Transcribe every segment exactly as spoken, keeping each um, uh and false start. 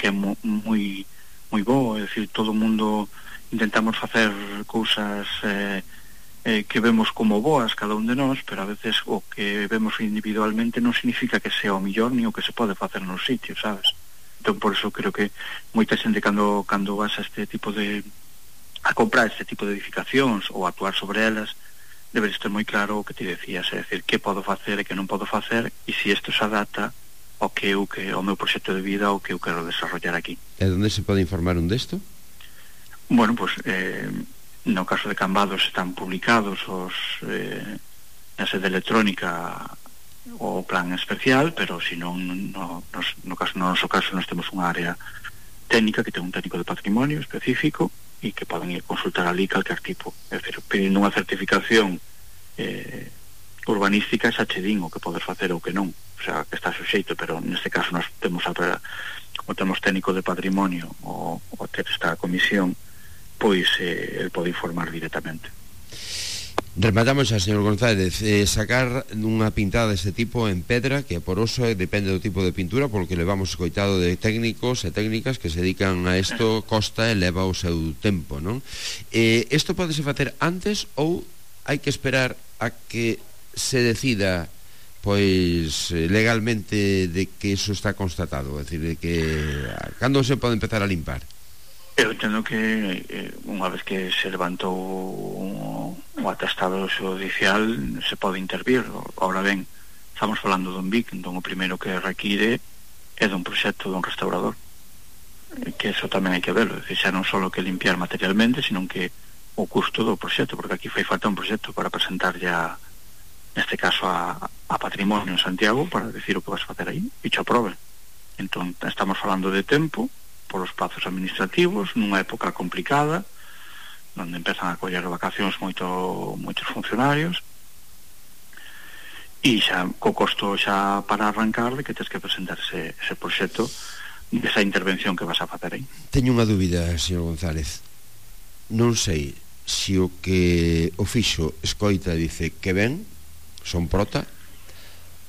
que é mo, moi moi bo, é dicir, todo o mundo intentamos facer cousas eh, eh, que vemos como boas cada un de nós, pero a veces o que vemos individualmente non significa que sea o millor ni o que se pode facer nos sitios, sabes? Entón, por eso creo que moita xente cando, cando vas a este tipo de a comprar este tipo de edificacións ou actuar sobre elas, deberes ter moi claro o que ti decías, é dicir, que podo facer e que non podo facer, e se isto se adapta ao que eu, que o meu proxecto de vida, o que eu quero desarrollar aquí. E onde se pode informar un desto? Bueno, pues eh, no caso de Cambados están publicados os eh, na sede electrónica o plan especial, pero se non no, no, no, caso, no noso caso nós temos unha área técnica que ten un técnico de patrimonio específico e que poden ir consultar ali calquer tipo, é dicir, pedindo unha certificación eh, urbanística xa che din o que podes facer ou que non, o sea, que está suxeito, pero neste caso nós temos a, como temos técnico de patrimonio o, o ter esta comisión, pois eh, el pode informar directamente. Rematamos xa, señor González, eh, sacar unha pintada deste tipo en pedra, que é porosa, depende do tipo de pintura, porque levamos escoitado de técnicos e técnicas que se dedican a isto, costa e leva o seu tempo, non? Eh, isto podese facer antes ou hai que esperar a que se decida pois legalmente de que eso está constatado, é dicir, de que cando se pode empezar a limpar? Eu entendo que eh, unha vez que se levantou o, o atestado judicial se pode intervir. Ahora ben, estamos falando dun B I C, entón o primeiro que require é dun proxecto dun restaurador, que eso tamén hai que verlo, é dicir, xa non só que limpiar materialmente, sino que o custo do proxecto, porque aquí fai falta un proxecto para presentar ya neste caso a, a Patrimonio en Santiago para decir o que vas facer aí e cho aprobe. Entón estamos falando de tempo polos plazos administrativos nunha época complicada onde empezan a coller vacacións moito, moitos funcionarios e xa co costo xa para arrancar de que tens que presentar ese, ese proxecto desa intervención que vas a facer aí. Teño unha dúbida, señor González, non sei se o que o fixo escoita e dice que ben son prota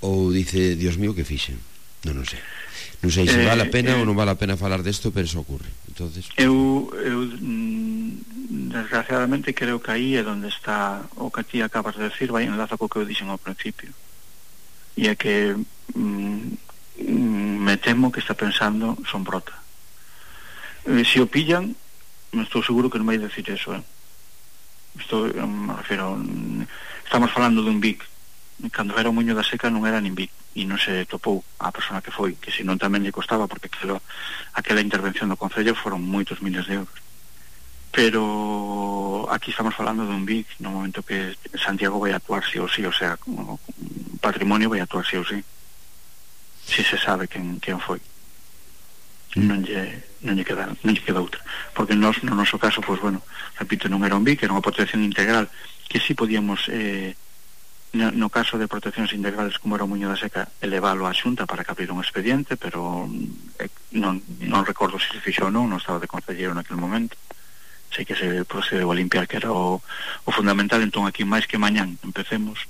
ou dice, Dios mío, que fixen, non, non sei. Non sei se eh, vale a pena eh, ou non vale a pena falar desto, pero eso ocurre. Entonces, eu, eu mm, desgraciadamente creo que aí é onde está o que ti acabas de decir, vai enlaza co que eu dixen ao principio, e é que mm, me temo que está pensando son brota. Eh, se o pillan, estou seguro que non vai decir eso, eh? Estou, me refiro, estamos falando dun B I C. Cando era o Muño da Seca non era nin B I C e non se topou a persona que foi, que senón tamén lle costaba, porque aquelo, aquela intervención do Concello foron moitos miles de euros. Pero aquí estamos falando dun B I C no momento que Santiago vai actuar sí ou sí, o sea, como Patrimonio vai actuar sí ou sí, si se sabe quen, quen foi. Non lle, non lle queda, non lle queda outra, porque nos, no noso caso, pois bueno, repito, non era un B I C, era unha protección integral que sí podíamos eh, no, no caso de proteccións integrales como era o Muño da Seca, elevalo á Xunta para que abrir un expediente, pero eh, non, non recordo se se fixou ou non, non estaba de concelleiro naquele momento. Sei que se procedeu a limpiar, que era o, o fundamental. Entón aquí máis que mañán empecemos,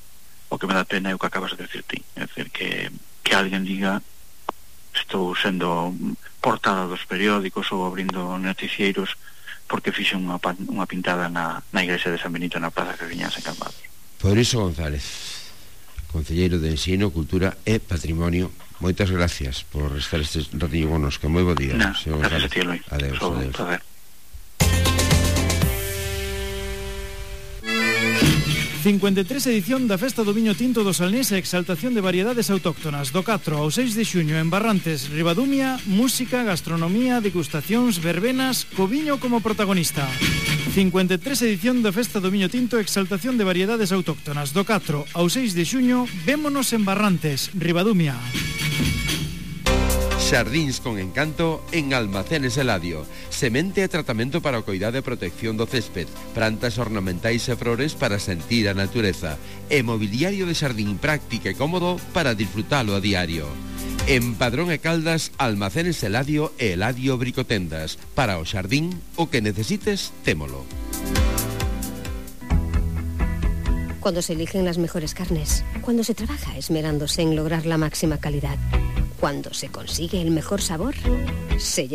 o que me dá pena é o que acabas de decir ti, é dicir, que, que alguén diga estou sendo portada dos periódicos ou abrindo noticieiros porque fixe unha, unha pintada na, na igrexa de San Benito na Plaza Cariñas en Cambados. Por iso González, concelleiro de Ensino, Cultura e Patrimonio, moitas gracias por estar este ratillo conosco. Moi bo día. Nah, gracias a ti, Eloi. Adeus, so, adeus. adeus. cincuenta e tres edición da Festa do Viño Tinto do Salnés e exaltación de variedades autóctonas do catro ao seis de xuño en Barrantes, Ribadumia, música, gastronomía, degustacións, verbenas, co viño como protagonista. cincuenta e tres edición da Festa do Viño Tinto e exaltación de variedades autóctonas do catro ao seis de xuño, vémonos en Barrantes, Ribadumia. Xardíns con encanto en Almacenes Eladio. Semente e tratamento para o coidado e protección do césped, plantas ornamentais e flores para sentir a natureza, e mobiliario de xardín práctico e cómodo para disfrutalo a diario. En Padrón e Caldas, Almacenes Eladio e Eladio Bricotendas. Para o xardín, o que necesites, témolo. Cuando se eligen las mejores carnes, cuando se trabaja esmerándose en lograr la máxima calidad, cuando se consigue el mejor sabor, se